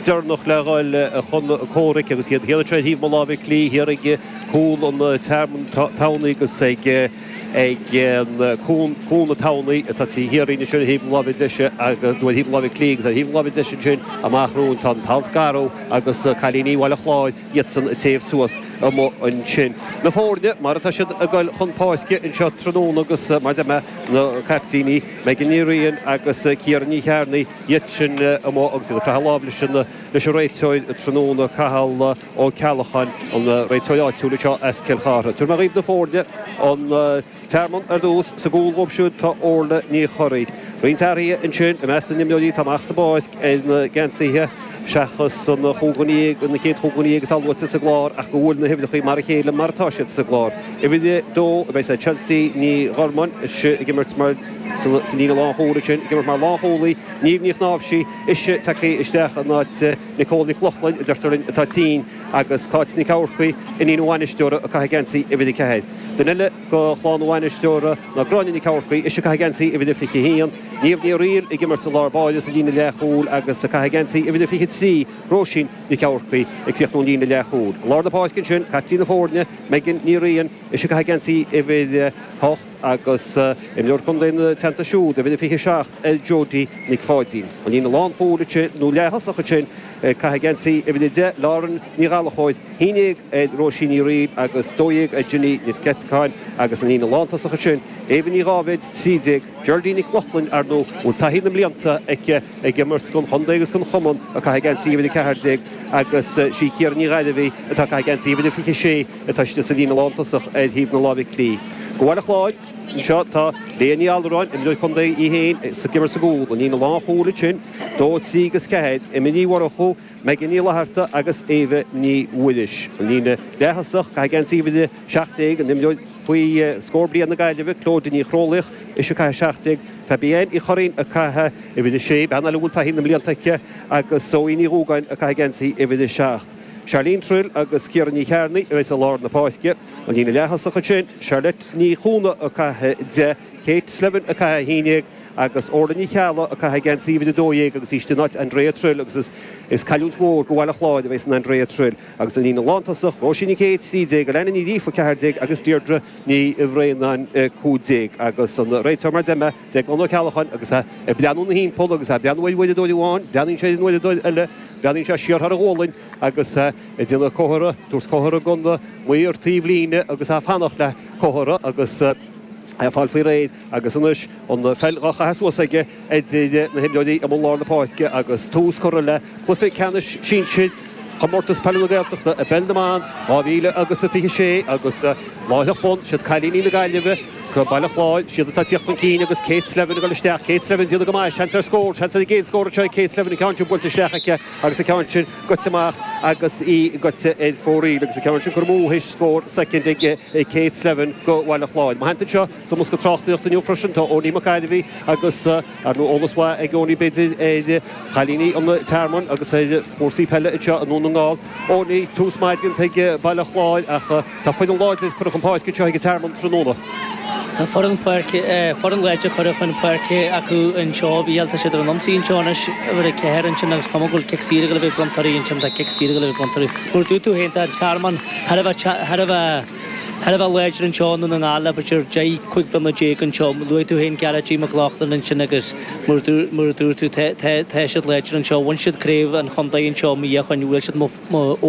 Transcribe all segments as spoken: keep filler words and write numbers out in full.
deireanach le dhul chun comhraic agus iad thiar anseo ar thaobh mo láimhe clí thiar ag cúl an Tearmann Tamhnaí agus ag ag Cuan na Tamhnaí atá taobh thiar dínn anseo ar thaobh na láimhe deise agus nó ar thaobh na láimhe clí agus ar thaobh na láimhe deise ansin amach romhainn tá an tAlt Garbh agus cailíní Bhaile Chláir iadsan ag téamh suas amuigh ansin. Na foirne mar atá siad ag dul chun páirce anseo tráthnóna agus mar a deir mé na caiptíní Megan Ní Riain agus Ciara Ní Chearnaigh iad sin amuigh agus iad ag croitheadh lámh leis an leis an réiteoir tráthnóna Cathal Ó Ceallacháin, an réiteoir áitiúil anseo as Cill Chartha. Tabharfaidh mé dhaoibh na foirne, an Tearmann ar dtús, sa gcúl dhóibh siúd tá Orla Ní Churraoin. Roinnt athruithe ansin i measc na n-imreoirí atá amach sa bpáirc ar na geansaithe seachas an chúig dhuine dhéag, an chéad chúig dhuine dhéag atá luaite sa gclár ach go bhfuil na huimhreacha mar a chéile mar atá siad sa gclár. Uimhir a dó a bheas ag Chelsea Ní Ghormáin, ise ag imirt mar sa líne lánchúil ansin, ag imirt mar lánchúlaí, Niamh Ní Chnáimhsí, ise tagtha isteach in áit Nicole Nic Lochlainn, a deirtear linn, atá tinn, agus Cáit Nic Eamharcaigh, iníon an bhainisteora, ag caitheamh geansaí uimhir a ceathair. Duine eile de chlann an bhainisteora ná Gráinne Nic Eamharcaigh, ise ag caitheamh geansaí uimhir a fiche a haon, Niamh Ní Fhearaíl ag imirt i lár báire sa líne leathchúil agus ag caitheamh geansaí uimhir a fiche a trí, Róisín Nic Eamharcaigh ag críochnú an líne leathchúil. I lár na páirce ansin, caiptín na foirne, Megan Ní Riain, ise ag caitheamh geansaí uimhir a hocht agus imreoir contae ina teannta siúd, uimhir a fiche a seacht ar Jodie Nic Pháidín. An líne lánchúil ansin, nó leath-thosach ansin, ag caitheamh geansaí uimhir a deich, Lauren Ní Ghallchóir, haon déag ar Róisín Ní Fhearaíl agus dó dhéag ar Ginny Nic Eiteacáin agus an líne lántosach ansin, Éabha Ní Dháibhéid, trí déag, Geraldine Nic Lochlainn, ar ndóigh, a bhfuil taithí na mblianta aici ag imirt don chontae agus don chumann, ag caitheamh geansaí uimhir a ceathair déag agus sí Ciara Ní Ghairbhí atá ag caitheamh geansaí uimhir a fiche sé atá istigh sa líne lántosach ar thaobh na láimhe clí. Do Bhaile Chláir, anseo tá Léah Ní Allmhuráin, imreoir contae í féin, ag imirt sa gcúl, an líne lánchúil ansin, dó, trí agus ceathair, Emma Ní Mhurchú, Megan Ní Fhlatharta agus Éabha Ní Mhuiris. An líne leath-thosach, caitheamh geansaí uimhir a seacht déag, an imreoir faoi scór bliain na Gaillimhe, Clodagh Ní Chrólaíoch, ise ag caitheamh a seacht déag, Fabienne Uí Churraoin ag caitheamh uimhir a sé, bean eile a bhfuil taithí na mblianta aici, agus Zoe Ní Dhúgáin ag caitheamh geansaí uimhir a seacht. Charlene Trill agus Ciara Ní Chearnaigh a bheas i lár na páirce. An líne leath-thosach ansin, Charlotte Ní Chuana ag caitheamh a deich, Kate Slevin ag caitheamh a haon déag agus Orla Ní Cheallaigh ag caitheamh geansaí uimhir a dó dhéag agus í istigh in áit Andrea Trill agus is cailliúint mhór do Bhaile Chláir a bheas in Andrea Trill. Agus an líne lántosach, Róisín Nic Aoidh, trí déag, Alana Ní Ghríofa, ceathair déag agus Deirdre Ní Bhraonáin, cúig déag. Agus an réiteoir mar a deir mé, Declan Ó Ceallacháin agus é ag breathnú ina thimpeall agus é ag breathnú ar uaireadóir amháin, breathnaíonn sé ar an uaireadóir eile, breathnaíonn sé siar thar a ghualainn agus é ag déanamh comhartha, tabhairt comhartha don mhaor taobhlíne agus é ag fanacht le comhartha agus é ag fáil faoi réir agus anois an pheil dhá chaitheamh suas aige idir na himreoirí i lár na páirce agus tús curtha le cluiche ceannais sinsir Chomórtas Peile na Gaeltachta i bPeil na mBan dhá mhíle agus a fiche sé agus láithreach bonn, siad cailíní na Gaillimhe, Baile Chláir, siad atá ag tíocht chun cinn agus Kate Slevin ag dul isteach, Kate Slevin ag déanamh go maith, seans ar scór, seans ar an gcéad scór anseo ag Kate Slevin, an ceann sin buailte isteach aici agus an ceann sin goite amach agus í goite ar fóraoil agus an ceann sin curtha amú théis scór soicind ag Kate Slevin do Bhaile Chláir. Mo theannta anseo sa mbosca tráchtaireachta inniu freisin tá Owenie Mac Gairbhí agus Ar ndóigh, eolas mhaith ag Owenie b'fhéidir ar chailíní an Tearmainn agus ar chúrsaí peile anseo i nDún na nGall. Owenie, tús maith déanta ag Baile Chláir ach tá foireann láidir curtha chun páirce anseo ag an Tearmann tráthnóna. Tá foireann páirce, foireann láidir curtha chun páirce acu anseo. A Mhícheáil, tá siad ar an ionsaí anseo anois, uimhir a ceathair ansin agus cuma go bhfuil cic saor ag dul a bheith bronnta orthu ansin, tá cic saor ag dul a bheith bronnta orthu. Mar a dúirt tú féin, tá an Tearmann thar a bheith, thar a bheith, Thar a bheith láidir anseo i nDún na nGall le b'fhéidir deich, cúig bliana déag anseo. Luaigh tú féin Gearóidín McLaughlin ansin agus mar a dúirt tú tá siad láidir anseo. Bhain siad craobh an chontae anseo mí ó shoin. Bhuail siad mo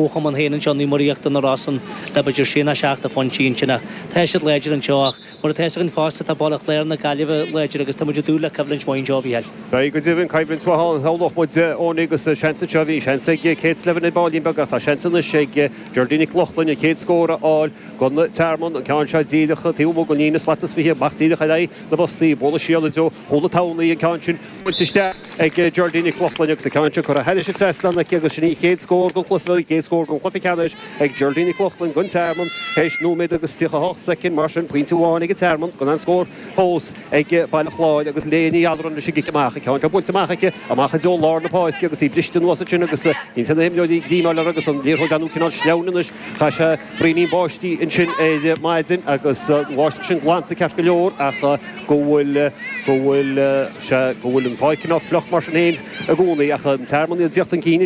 chumann féin anseo, Naomh Muire Íochtar na Rosann le b'fhéidir sé nó seacht de phointí ansin ach tá siad láidir anseo ach mar atá fhios againn fosta tá Baile Chláir na Gaillimhe láidir agus tá muid ag dúil le coimhlint mhaith anseo, a Mhícheáil. Beidh go deimhin coimhlint mhaith ann, shamhlódh muid, Owenie agus seans anseo, bhí seans ag Kate Slevin ar baillín beag ach tá seans anois ag Geraldine Nic Lochlainn an chéad scór a fháil don Tearmann, an ceann seo díreach taobh amuigh den líne slat is fiche, amach díreach ar aghaidh na bpostaí, bualadh siar i dtreo chúl na Tamhnaí, an ceann sin buailte isteach ag Geraldine Nic Lochlainn agus an ceann sin curtha thairis an trasnán aici agus sin í an chéad scór den chluiche, an chéad scór den chluiche ceannais ag Geraldine Nic Lochlainn don Tearmann théis nóiméad agus tríocha a hocht soicind, mar sin pointe amháin ag an Tearmann gan aon scór fós ag Baile Chláir agus Léah Ní Allmhuráin leis an gcic amach, an ceann seo buailte amach aici amach i dtreo lár na páirce agus í briste anuas ansin agus níl na himreoirí ag grímeáil uirthi agus an liathróid ar ndóigh cineál sleamhain anois. Chaith sé braoinín báistí ansin ar maidin agus an bháisteach sin glanta ceart go leor ach go bhfuil go bhfuil sé go bhfuil an pháirc cineál fliuch mar sin féin i gcónaí ach an Tearmann ag tíocht chun cinn anseo.